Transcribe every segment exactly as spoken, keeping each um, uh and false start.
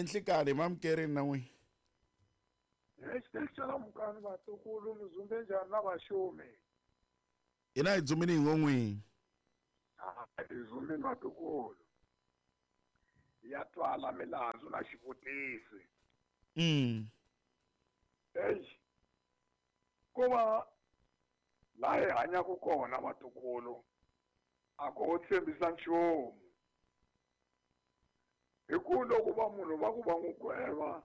Enhlikani mamukerini na n'wina. Exitexela mukani vatukulu mi dzumbe njhani na vaxumi? Hina hi dzumini hi ngo n'wini. Hi dzumini vatukulu. Ya twala milandzu na xivutisi. Mm. Eish. Ku va laha hi hanyaka kona vatukulu a ko tshembisa nchumu. Hi ku loko va munhu va ku va n'wi gweva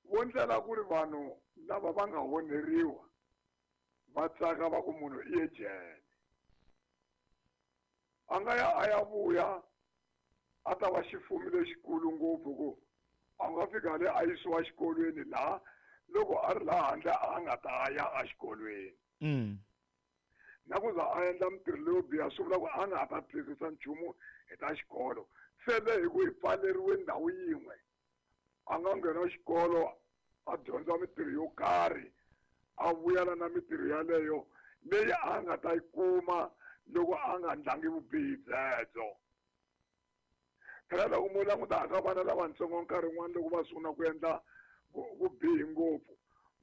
vo ndlela ku ri vanhu lava va nga onheriwa va tsaka va ku munhu i ye jele. A nga ya a ya vuya a ta va xifumi lexikulu ngopfu ku a nga fika le a yisiwa xikolweni laha loko a ri laha handle a nga ta ya exikolweni. Mm. Na ku za a endla mintirho leyo biha swi vula ku a nga ha ta twisisa nchumu hi ta xikolo. Se le hi ku hi pfaleriwe ndhawu yin'we a nga nghena xikolo a dyondza mintirho yo karhi a vuyela na mintirho yaleyo leyi a nga ta yi kuma loko a nga ndlangi vubihi byebyo. Phela loko mo languta ka vana lavatsongo nkarhi wun'wani loko va sungula ku endla vubihi ngopfu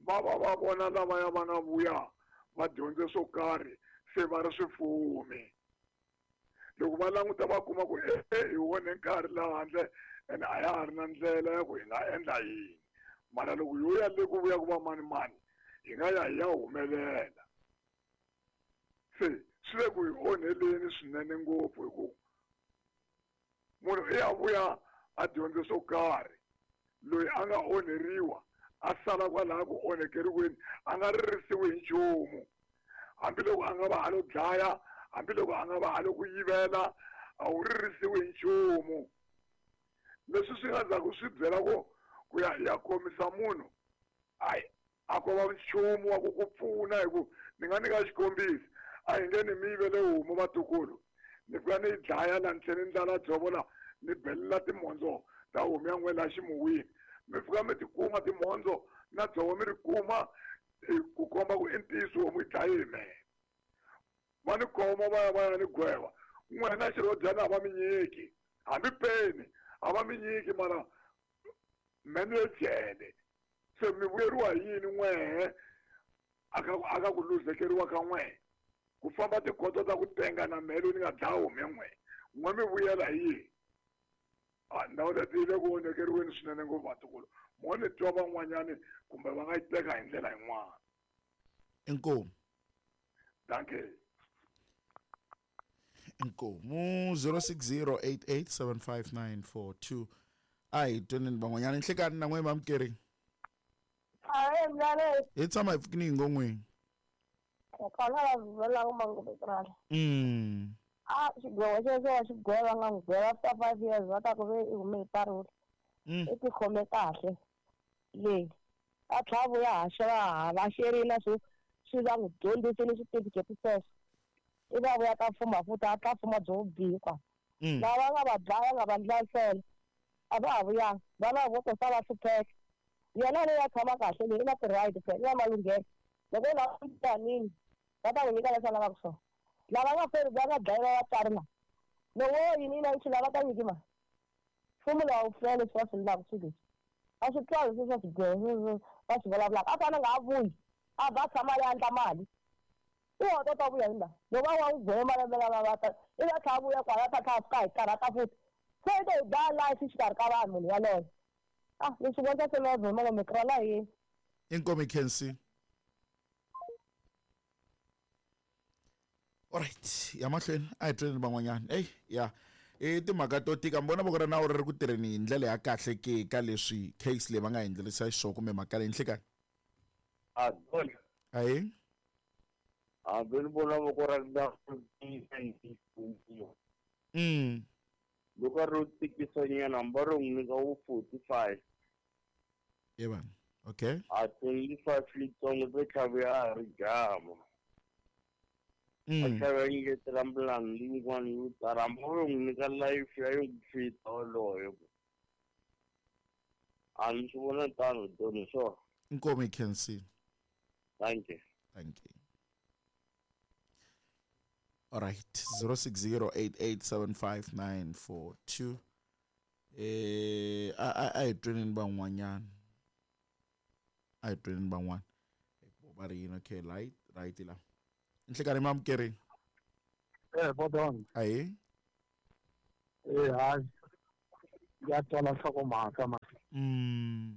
va va va vona lavaya va nga vuya va dyondze swo karhi se va ri swifumi. Loko va languta va kuma ku e hi wone nkarhi laha handle ene a ya ha ri na ndlela ya ku hi nga endla yini mara loko yo ya le ku vuya ku va mani mani hi nga ya hi ya humelela. Se swi le ku hi onheleni swinene ngopfu hi ku munhu i ya vuya a dyondze swo karhi loyi a nga onheriwa a sala kwalaha ku onhekeriweni a nga ririsiwi hi nchumu hambiloko a nga va a lo dlaya hambiloko a nga va a lo ku yivela a wu ririsiwi hi nchumu. Leswi swi nga ndzhaku swi byela ku ku ya ya khomisa munhu ayi a ko va nchumu wa ku ku pfuna hi ku ni nga nyika xikombiso a hi nge ni mi yivele homu vatukulu ni fika ni yi dlaya laha ni tlhela ni ndlala dzovo laha ni belela timhondzo ta homu ya n'we laha ximuwini mi fika mi ti kuma timhondzo na dzovo mi ri kuma ku komba ku i ntiyiso homu yi dlaye hi mehe. Va ni khoma va ya va ya ni gweva n'wina xirhodyana a va mi nyiki hambi peni a va mi nyiki mara mene ye jele se mi vuyeriwa hi yini n'wehe aka aka ku luzekeriwa ka n'wehe ku famba tikhoto ta ku tenga na mhelo ni nga dlaya homu ya n'wehe n'we mi vuyela hi yini? A ndhawu leti yi le ku onhekeriweni swinene ngopfu vatukulu mo ni twa van'wanyani kumbe va nga yi teka hi ndlela yin'wana. Inkomu. Dankie. Inkomu zero six zero eight eight seven five nine four two. A hi tweneni van'wanyana nhlikani na n'we mamukeri. Ahee mlale. Hi tshama hi pfukini hi ngo n'wini. Khona la vula ku manguva krala. Mm. A xigwevo xexo wa xigweva nga n'wi gweva after five years va ta ku ve i hume hi parole. Mm. I tikhome kahle. Leyi a tlhela a vuya haxa va ha va xerile swi swi va n'wi dyondzisile switifiketi sweswo. I va vuya ta fuma futhi a ta fuma byo vubihi kwa. Mm. Lava nga va dlaya nga va ndla a va ha vuyanga vana vo to sala hlupheka. Yena leyi a tshama kahle leyi i na ti-right phela i na malunghelo loko u lava tanini va ta n'wi nyika leswi a lavaka swona. Lava nga feri va nga dlayiwa vatswari lava loko wo yini na yi lava ta nyiki mali mfumo lowu a wu fele leswi va swi endlaka swilo leswi a swi twali leswi swa swigwevo va swi vulavulaka a fane a nga ha vuyi a va tshama a ya endla mali i wa ta ta vuya hi laha loko a wa n'wi gweva malembe lama va ta i va tlhela a vuya kwala ta tlhela a fika hi karhata futhi se i to hi dlaya life xikarhi ka vanhu munhu yaloye. Ah leswi vona se na vona ngome krala hi Inkomu Kensi. Alright, ya mahlweni a hi tweni van'wanyana. Ey ya i timhaka to tika mi vona voko ra nawu ri ri ku tirheni hi ndlela ya kahle ke ka leswi case leyi va nga endlerisa xiswona kumbe mhaka leyi nhlikani. A dona. Ahee. Hambi ni vona voko ra nawu Mm. Loko ro tikisa nyana hambi ro n'wi nyika wu forty-five. Yebo. Okay. A twenty-five litsongo to tlhaviwa a ri jama. Mm. A tlhava nyiketela milandzu yin'wana yo tala hambi ro n'wi nyika life ya yo fita wolowo. A ni swi vona tano doni swona. Inkomu Kensi. Thank you. Thank you. All right, zero six zero eight eight seven five nine four two. Eh a a hi tweneni van'wanyana a hi tweneni van'wana va ri yini. Okay, right right la nhlekanhi mamukerini. Eh bodon ayi eh hayi ya twala nhlokomhaka ma mm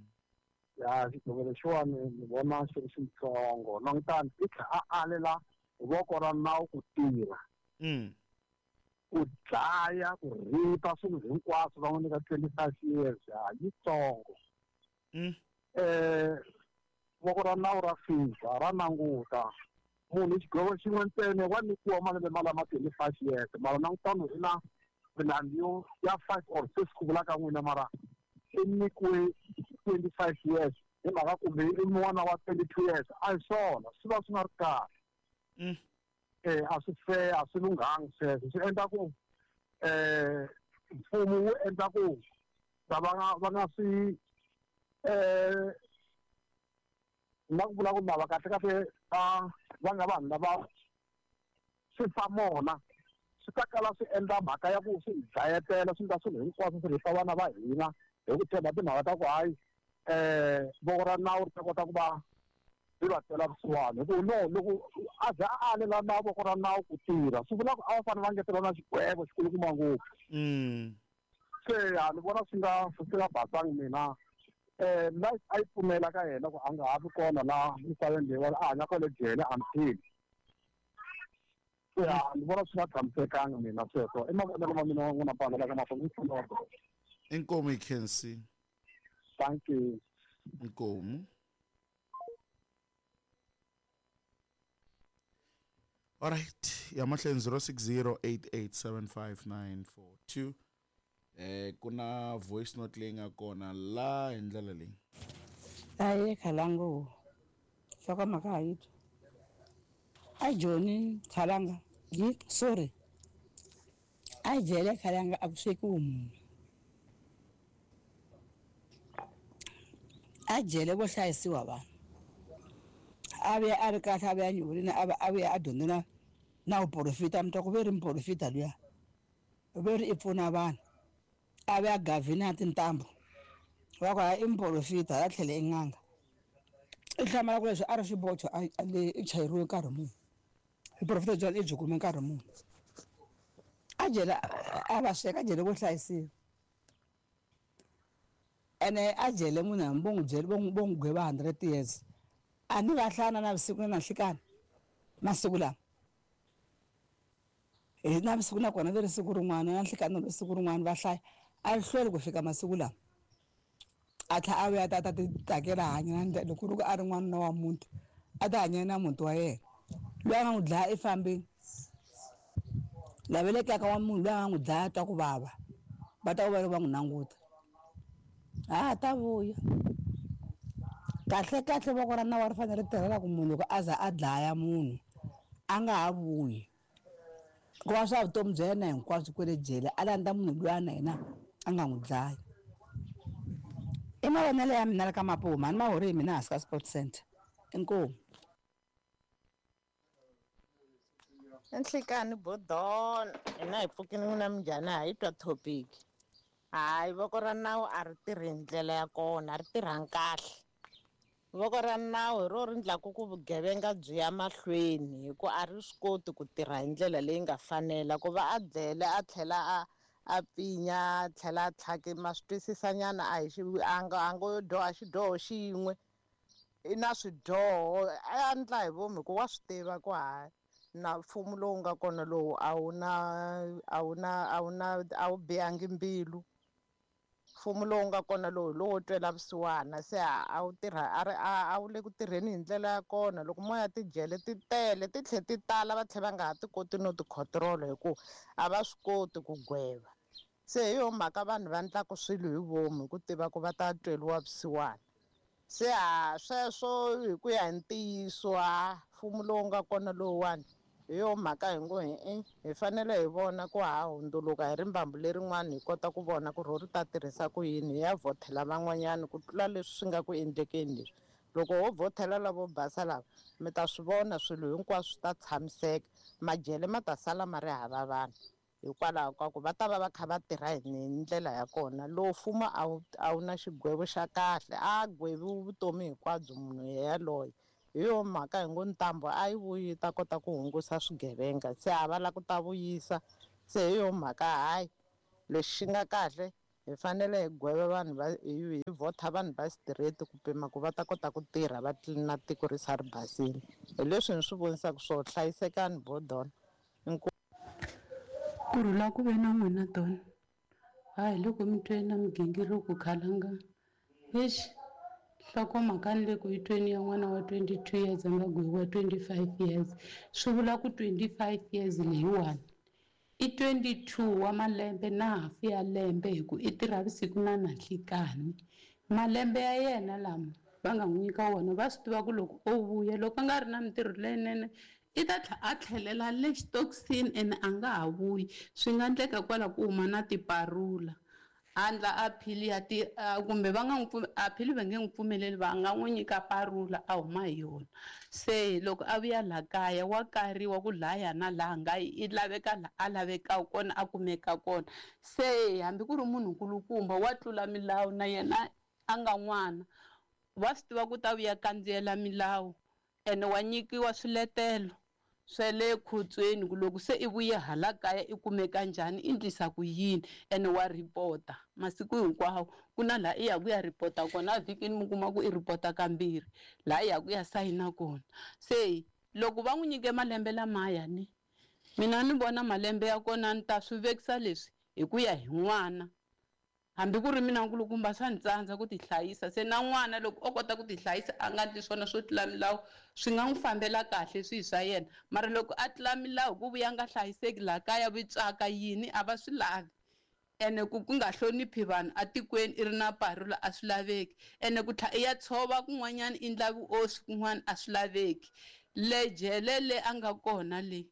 ya xigwevo lexiwani ni vona xi ri xitsongo langutani i tlha a alela voko ra nawu ku tirha mm ku dlaya ku ripa swilo hinkwaswo va n'wi nyika twenty-five years ha yitsongo. Mm eh voko ra nawu ra fika ra languta munhu xigwevo xin'we ntsena wa nyikiwa malembe ma lama twenty-five years mara langutano i na milandzu yo ya five or six ku vula ka n'wina mara i nyikiwe twenty-five years hi mhaka kumbe i n'wana wa twenty-two years a hi swona swi va swi nga ri kahle. Mm eh a swi fair a swi lunghangi sweswo swi endla ku eh mfumo wu endla ku va va nga va nga swi eh na ku vula ku lava kahle kahle va va nga vanhu lava swi fa mona swi ta kala swi endla mhaka ya ku swi dlayetela swi endla swilo hinkwaswo swi risa vana va hina hi ku tshemba timhaka ta ku hayi eh voko ra nawu ri ta kota ku va ri va twela vusiwana hi ku no loko a za a alela na voko ra nawu ku tirha swi vula ku a va fanele va ngetela na xigwevo xikulukumba ngopfu. Mm se a ni vona swi nga swi nga basangi mina eh life a yi pfumela ka yena ku a nga ha vi kona laha misaveni leyiwani a hanya kwale jele until se a ni vona swi nga tshamisekanga mina sweswo i mavonelo ma mina n'wina pamela ka mahlweni ndzi Inkomu hi khensi. Thank you. Inkomu. All right, ya mahlweni zero six zero eight eight seven five nine four two. Eh kuna voice note leyi nga kona la hi ndlela leyi. Aye khalango. Hlokomhaka ha yi twa. A Joni Khalanga, yi sorry. A jele Khalanga a ku swekiwi munhu. A jele vo hlayisiwa vanhu. A vuya a ri kahle a vuya nyurini a va a vuya a dyondza na na vuporofita mi twa ku ve ri muporofita luya. Ve ri i pfuna vanhu. A vuya gavhini ya tintambu. Va ku hayi i muporofita la tlhele i n'anga. I hlamala ku leswi a ri xibocho a le i chayeriwe nkarhi muni. Vuporofita byona i byi kume nkarhi muni. A jele a va sweka a jele vo hlayisiwa. Ene a jele munhu hambi vo n'wi byela vo n'wi vo n'wi gweva hundred years. A ni va hlana na vusiku na nhlikani masiku lama. Hi na vusiku nakona ve ri siku rin'wana na nhlikani ri siku rin'wana va hlaya a ri hlweli ku fika masiku lama. A tlhela a vuya a ta ta ti tsakela hanya na loko ku ri ku a ri n'wanuna wa muti a ta hanya na muti wa yena. Loyi a nga n'wi dlaya i fambile. Lava le kaya ka wa munhu loyi a nga n'wi dlaya a twa ku vava va ta va va n'wi languta. Ha ta vuya. Kahle kahle voko ra nawu ri fanele ri tirhela ku munhu loko a za a dlaya munhu a nga ha vuyi. Ku va swa vutomi bya yena hinkwabyo kwale jele a landza munhu luya na yena a nga n'wi dlaya. I mavonelo ya mina la ka Mapuma a ni ma hori hi mina hansi ka Sports Center. Inkomu. Nhlikani bodon hina hi pfukini n'wina minjhani ha yi twa topic. Hayi voko ra nawu a ri tirhi hi ndlela ya kona a ri tirhangi kahle. Voko ra nawu hi ro ri endlaku ku vugevenga byi ya mahlweni hi ku a ri swi koti ku tirha hi ndlela leyi nga fanela ku va a dlele a tlhela a a pfinya a tlhela a tlhake ma swi twisisanyana a hi xi a nga a ngo dyoha xidyoho xin'we i na swidyoho a endla hi vomu hi ku wa swi tiva ku hayi na mfumo lowu nga kona lowu a wu na a wu na a wu na a wu bihangi mbilu. Mfumo lowu nga kona lowu lowo twela vusiwana se a wu tirha a ri a wu le ku tirheni hi ndlela ya kona loko moya tijele ti tele ti tlhe ti tala va tlhela va nga ha ti koti no ti control hi ku a va swi koti ku gweva. Se hi yo mhaka vanhu va endlaku swilo hi vomu hi ku tiva ku va ta tweliwa vusiwana. Se ha sweswo hi ku ya hi ntiyiso ha mfumo lowu nga kona lowuwani hi yo mhaka hi ngo hi hi fanele hi vona ku ha hundzuluka hi rimbambu lerin'wana hi kota ku vona ku ro ri ta tirhisa ku yini hi ya vhothela van'wanyana ku tlula leswi swi nga ku endlekeni leswi. Loko ho vhothela lavo basa lava mi ta swi vona swilo hinkwaswo swi ta tshamiseka majele ma ta sala ma ri hava vanhu. Hikwalaho ka ku va ta va va kha va tirha hi ndlela ya kona. Lowu mfumo a wu a wu na xigwevo xa kahle, a gweviwi vutomi hinkwabyo munhu yaloye. Hi yo mhaka hi ngo ntambu a yi vuyi yi ta kota ku hungusa swigevenga, se a va lava ku ta vuyisa. Se hi yo mhaka hayi lexi xi nga kahle hi fanele hi gweva vanhu va hi vhota vanhu va straight ku pima ku va ta kota ku tirha va tlilina tiko ri sa ri basile. Hi leswi ni swi vonisaka swona. Hlayisekani bodona. Ku rhula ku ve na n'wina Don. Hayi loko mi twe na migingiriko khalanga. Eish, nhlokomhaka ni le ku yi tweni ya n'wana wa twenty-two years a nga gweviwa twenty-five years. Swi vula ku twenty-five years leyiwani i twenty-two wa malembe na hafu ya lembe hi ku i tirha vusiku na nanhlikani. Malembe ya yena lama va nga n'wi nyika wona va swi tiva ku loko o vuya loko a nga ri na mintirho leyinene i ta tlhela a tlhelela le xitokisini ene a nga ha vuyi. Swi nga endleka kwala ku huma na tiparula a endla appeal ya ti kumbe va nga n'wi appeal va nge n'wi pfumeleli, va nga n'wi nyika parula a huma hi yona. Se loko a vuya laha kaya wa kariwa ku laya na laha nga i laveka laha a lavekaka kona a kumeka kona. Se hambi ku ri munhu nkulukumba wa tlula milawu na yena a nga n'wana wa swi tiva ku ta vuya kandziyela milawu ene wa nyikiwa swiletelo swa le khotsweni ku loko se i vuye hala kaya i kumeka njhani i endlisa ku yini ene wa ripota masiku hinkwawo. Ku na laha i ya ku ya ripota kona vhikini mi kuma ku i ripota kambirhi laha i ya ku ya sayina kona. Se loko va n'wi nyike malembe lamaya ni mina ni vona malembe ya kona ni ta swi vekisa leswi hi ku ya hi n'wana. Hambi ku ri mina nkulukumba swa ni tsandza ku tihlayisa, se na n'wana loko o kota ku tihlayisa a nga endli swona swo tlula milawu swi nga n'wi fambela kahle swihi swa yena. Mara loko a tlula milawu ku vuya nga hlayiseki laha kaya vitswaka yini a va swi lavi, ene ku ku nga hloniphi vanhu atikweni i ri na parula a swi laveki, ene ku tlhela i ya tshova kun'wanyana i endla vuoswi kun'wana a swi laveki. Le jele le a nga kona le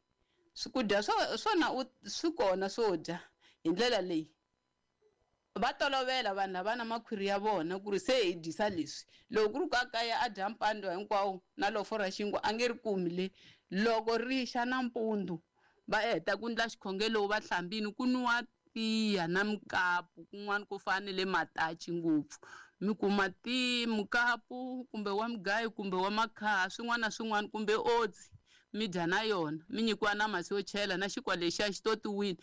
swakudya swona swi kona swo dya hi ndlela leyi va tolovela vanhu lava na makhwiri ya vona ku ri se hi dyisa leswi. Loko ku ri ku a kaya a dya mpandwa hinkwawo na lofo ra xinkwa a nge ri kumi le. Loko ri xa nampundzu va heta ku endla xikhongelo va hlambini ku nwiwa tiya na mukapu kun'wana ku fana le matachi ngopfu mi kuma ti mukapu kumbe wa mugayo kumbe wa makhaha swin'wana na swin'wana kumbe oats mi dya na yona mi nyikiwa na masi yo chela na xinkwa lexiya xi totiwile.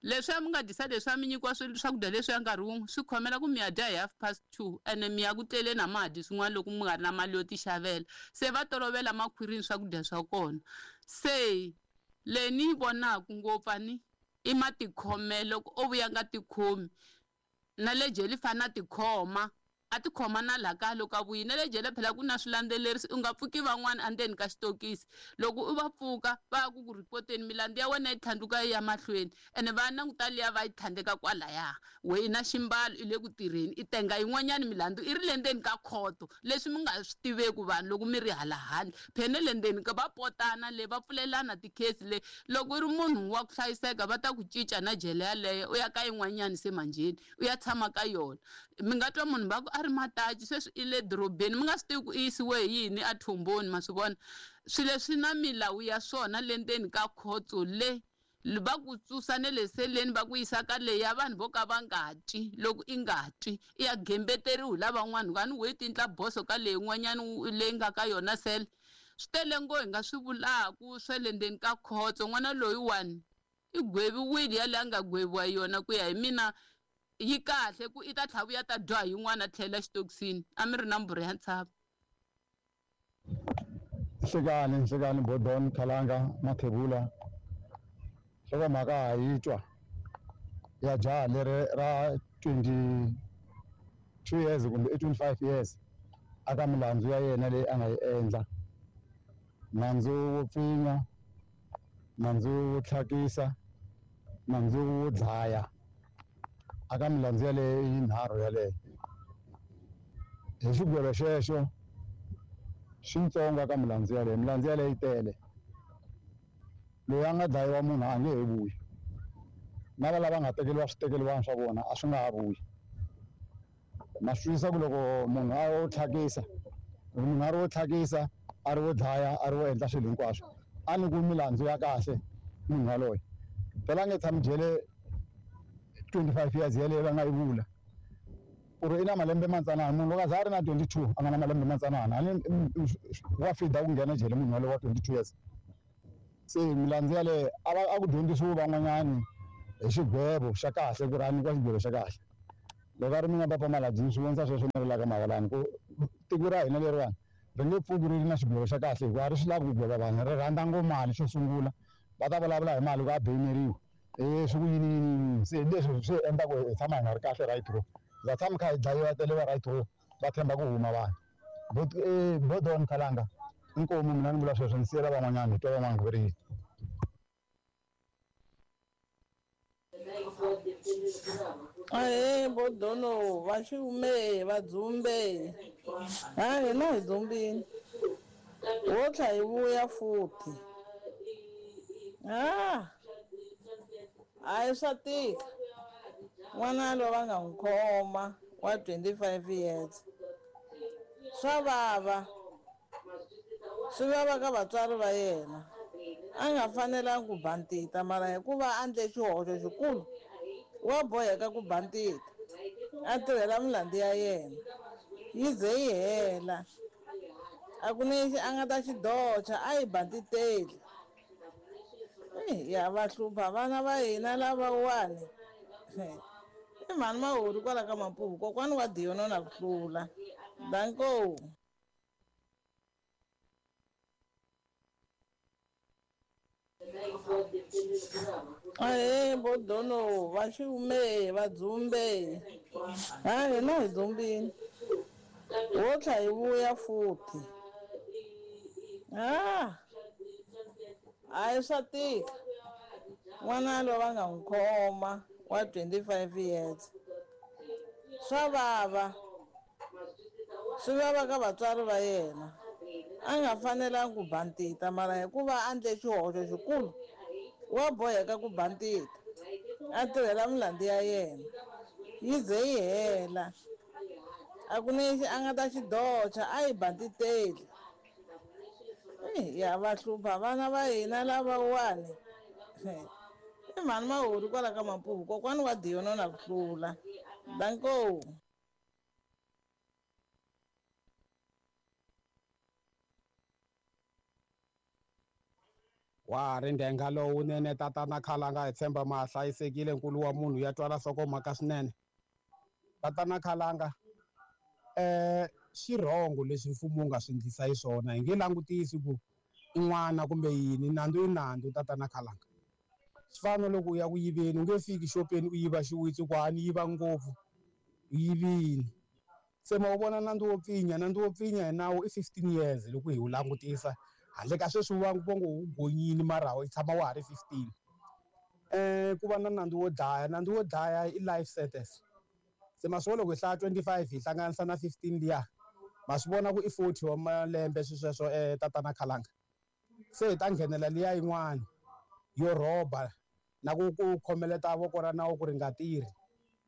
Leswi a mi nga dyisa leswi a mi nyikiwa swakudya leswi ya nkarhi wun'we swi khomela ku mi ya dya hi half past two ene mi ya ku tleleni a ma ha dyi swin'wana loko mi nga ri na mali yo tixavela. Se va tolovela makhwirini swakudya swa kona. Se leyi ni yi vonaka ngopfu a ni i matikhomelo loko o vuya nga tikhomi na le jele i fanele a tikhoma a tikhoma na laha kaya loko a vuyile. Na le jele phela ku na swilandzelerisi, u nga pfuki van'wana endzeni ka xitokisi. Loko u va pfuka va ya ku ku ripoteni milandzu ya wena yi tlhandluka yi ya mahlweni ene va languta liya va yi tlhandleka kwalaya. We i na ximbalo i le ku tirheni i tenga yin'wanyana milandzu i ri le ndzeni ka khoto leswi mi nga swi tiveki vanhu loko mi ri hala handle. Phela na le ndzeni ka va potana le va pfulelana tikhesi le. Loko u ri munhu wa ku hlayiseka va ta ku cinca na jele yaleyo u ya ka yin'wanyana se manjheni u ya tshama ka yona. Mi nga twa munhu va ku a ri matachi sweswi i le dorobeni mi nga swi tivi ku i yisiwe hi yini a thumboni ma swi vona. Swilo leswi na milawu ya swona le ndzeni ka khotso le va ku susa na le seleni va ku yisa ka leyi ya vanhu vo ka va nga twi. Loko i nga twi i ya gembeteriwi hi lavan'wana a ni we tindla boso ka leyi yin'wanyana leyi nga ka yona sele. Swi tele ngo hi nga swi vulaku swa le ndzeni ka khotso. N'wana loyiwani i gweviwile yaleyo a nga gweviwa yona ku ya hi mina yi kahle ku i ta tlhela vuya ta dyoha yin'wana a tlhela xitokisini. A mi ri na mbhuri ya ntshava. Nhlekani nhlekani Bodon Khalanga Mathebula. Nhlokomhaka ha yi twa ya jaha leri ra twenty-two years kumbe i twenty-five years aka milandzu ya yena leyi a nga yi endla. Nandzu wo pfinya, nandzu wo tlhakisa, nandzu wo dlaya. Aka milandzu yaleyo yinharhu yaleyo. Hi xigwevo xexo xitsongo aka milandzu yaleyo, milandzu yaleyo yi tele. Loyi a nga dlayiwa munhu a nge he vuyi. Na lava nga tekeriwa switekeriwani swa vona a swi nga ha vuyi. Na swi twisisa ku loko munhu a wo tlhakisa, loko munhu a ri wo tlhakisa, a ri wo dlaya, a ri wo endla swilo hinkwaswo, a nyikiwi milandzu ya kahle munhu yaloye. Phela a nge tshami jele twenty-five years yeleyo va nga yi vula. Ku ri i na malembe matsanana, munhu loko a za a ri na twenty-two a nga na malembe matsanana, a ni wa fida ku nghena jele munhu walowo wa twenty-two years. Se milandzu yaleyo a va a ku dyondzisiwi van'wanyani hi xigwevo xa kahle ku ri a nyikiwa xigwevo xa kahle. Loko a ri mina Papa Maladzi ni swi vonisa sweswo ni rilaka mahalani ku tiko ra hina leriwani ri nge pfuki ri ri na xigwevo xa kahle hikuva a ri swi lavi ku gweva vanhu, ri rhandza ngopfu mali xo sungula. Va ta vulavula hi mali ku a beyineriwa e swi ku yini yini yini, se leswi swi endla ku hi tshama hi nga ri kahle right ro. Va tshama kha hi dlayiwa teliwa right ro, va tshemba ku huma vanhu. But eh Bodon Khalanga inkomu mina ni vula sweswo ni siyela van'wanyana hi twa van'wana ku ri yini. Ahee Bodono va xiume va dzumbe ha hina hi dzumbini wo tlha hi vuya futhi ah hayi swa tika n'wana loyi va nga n'wi khoma wa twenty-five years swa vava swi vava ka vatswari va yena a nga fanelangi ku bantita mara hikuva a endle xihoxo xikulu wa boheka ku bantita a tirhela milandzu ya yena yi ze yi hela a ku na lexi a nga ta xi doxa a yi bantiteli. Ya va hlupha vana va hina lavawani i mhani Mahori kwala ka Mapuvu kokwani wa Diyono na ku hlula danko. Ahee Bodono va xiume va dzumbe ha hina hi dzumbini wo tlha hi vuya futhi ah hayi swa tika n'wana loyi va nga n'wi khoma wa twenty-five years swa vava swi vava ka vatswari va yena a nga fanelangi ku bantita mara hikuva a endle xihoxo xikulu wa boheka ku bantita a tirhela milandzu ya yena yi ze yi hela a ku na lexi a nga ta xi doxa a yi bantiteli. Ya va hlupha vana va hina lavawani i mhani Mahori kwala ka Mapuvu kokwani wa Diyono na ku hlula danko. Wa ri ndhenga lowunene tatana Khalanga hi tshemba ma hlayisekile nkulu wa munhu ya twala nhlokomhaka swinene. Tatana Khalanga eh xirhongo leswi mfumo wu nga swi endlisa hi swona hi nge langutisi ku i n'wana kumbe yini nandzu i nandzu tatana Khalanga. Swi fana na loko u ya ku yiveni u nge fiki xopeni u yiva xiwitsi ku a ni yiva ngopfu u yivini. Se ma wu vona nandzu wo pfinya, nandzu wo pfinya hi nawu i fifteen years loko hi wu langutisa handle ka sweswi va ngo wu gonyini mara wu tshama wa ha ri fifteen. Eh ku va na nandzu wo dlaya, nandzu wo dlaya i life sentence. Se ma swi vona loko hi hlaya twenty-five hi hlanganisa na fifteen liya ma swi vona ku i forty wa malembe swisweswo eh tatana Khalanga. Se hi ta nghenela liya yin'wana yo rhoba na ku ku khomeleta voko ra nawu ku ri nga tirhi.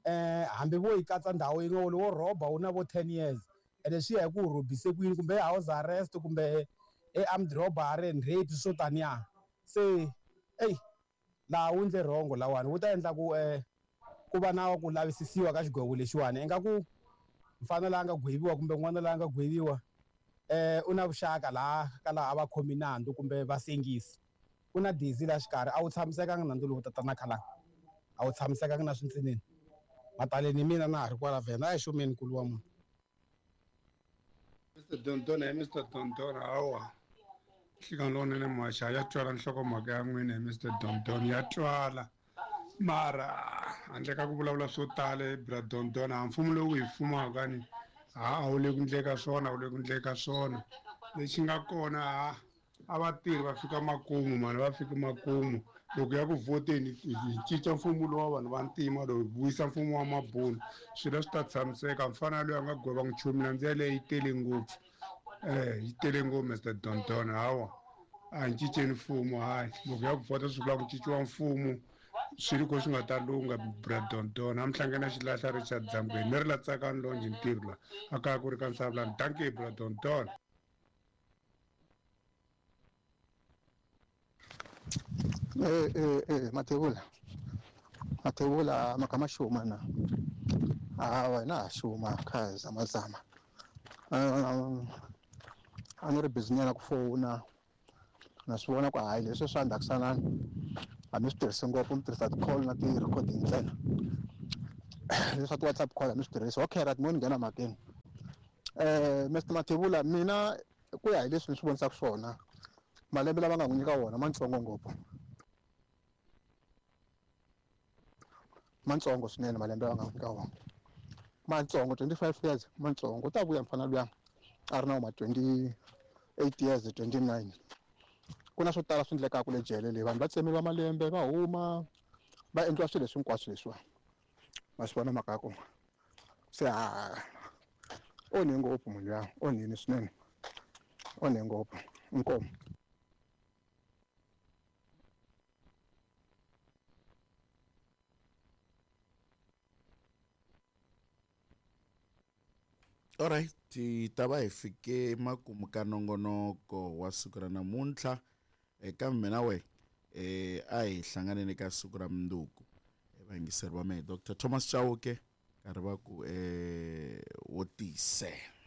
Eh hambi vo yi katsa ndhawu yin'we wo rhoba wu na vo ten years ene swi ya hi ku u rhobise ku yini kumbe house arrest kumbe e armed robbery and rape swo taniya. Se eyi laha wu endle rhongo lawani wu ta endla ku eh ku va na ku lavisisiwa ka xigwevo lexiwani ingaku mfana la nga gweviwa kumbe n'wana la nga gweviwa eh u na vuxaka laha ka laha a va khomi nandzu kumbe va sengisi ku na dizi la xikarhi a wu tshamisekanga nandzu lowu tatana Khalanga a wu tshamisekanga na swintsinini mataleni mina na ha ri kwala vhena a hi xumeni nkulu wa munhu. Mister Dondona hi Mister Dondona hawa nhlekani lowunene muhaxi ya twala nhlokomhaka ya n'wina hi Mister Dondona ya twala mara handle ka ku vulavula swo tala bra Dondona mfumo lowu hi fumaka ni ha a wu le ku ndleka swona a wu le ku ndleka swona lexi nga kona ha a vatirhi va fika makumu mani va fika makumu loko ya ku vhoteni hi cinca mfumo lowu wa vanhu va ntima lowu hi vuyisa mfumo wa mabunu swilo swi ta tshamiseka mfana loyi a nga gweva nchumu nandzu yaleyo yi tele ngopfu eh yi tele ngopfu Mister Dondona hawa a hi cinceni mfumo hayi loko ya ku vhota swi vula ku cinciwa mfumo swilo ko swi nga ta lungha bra Dondona a mi hlangana xilahla Richard Dzamgweni ni ri la tsakani lonje ntirho la a kaya ku ri ka Nsavulani dankie bra Dondona. Eh eh eh Mathebula. Mathebula makama xuma na. Ah wena ha xuma kha zama zama. A ni ri busy nyana ku fona. Na swi vona ku hayi leswi swa ndzhakusanani a mi swi tirhisi ngopfu mi tirhisa ti-call na ti-recording ntsena. Leswi swa ti-WhatsApp call a mi swi tirhisi. Okay right, mo ni nghena mhakeni. Eh Mister Mathebula, mina ku ya hi leswi ni swi vonisaka swona, malembe lama nga n'wi nyika wona mantsongo ngopfu. Mantsongo swinene malembe lama nga n'wi nyika wona. Mantsongo twenty-five years mantsongo, u ta vuya mfana luya a ri na ma twenty-eight years twenty-nine. Ku na swo tala swi endlekaka le jele leyi, vanhu va tsemiwa malembe va huma va endliwa swilo leswi hinkwaswo leswiwa. Ma swi vona mhaka ya kona. Se ha onhe ngopfu munhu luya, onhini swinene, onhe ngopfu. Inkomu. Alright, hi ta va hi fike makumu ka nongonoko wa siku ra namuntlha. Eka mina we eh a hi hlanganeni ka siku ra mundzuku. Vayingiseri va mehe Doctor Thomas Chauke karhi va ku eh wo tiyisela.